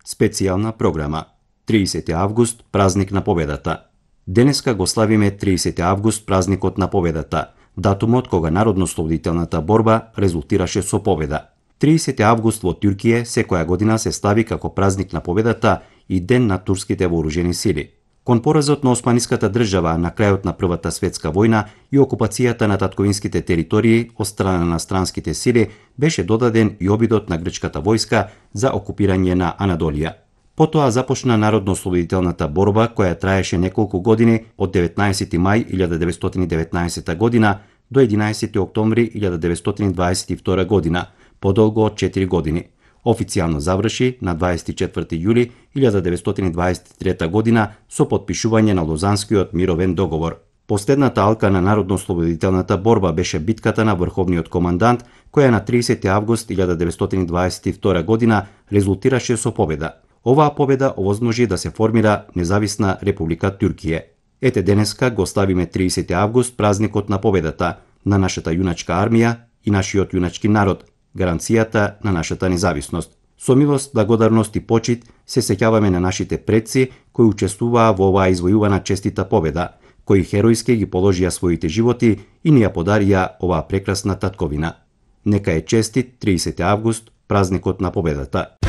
Специјална програма 30 август, празник на победата. Денеска го славиме 30 август, празникот на победата, датумот кога народно-ослободителната борба резултираше со победа. 30 август во Туркија секоја година се слави како празник на победата и ден на турските вооружени сили. Кон поразот на Османиската држава на крајот на Првата светска војна и окупацијата на татковинските територии од страна на странските сили беше додаден и обидот на грчката војска за окупирање на Анадолија. Потоа започна народно-ослободителната борба која траеше неколку години од 19. мај 1919 година до 11. октомври 1922 година, подолго од 4 години. Официјално заврши на 24. јули 1923 година со потпишување на Лозанскиот мировен договор. Последната алка на народно-ослободителната борба беше битката на врховниот командант, која на 30. август 1922 година резултираше со победа. Оваа победа овозможи да се формира независна република Туркија. Ете денеска го славиме 30. август, празникот на победата на нашата јуначка армија и нашиот јуначки народ, гаранцијата на нашата независност. Со милост, благодарност и почит се сеќаваме на нашите предци кои учествуваа во оваа извојувана честита победа, кои херојски ги положија своите животи и ни ја подарија оваа прекрасна татковина. Нека е честит 30 август, празникот на победата.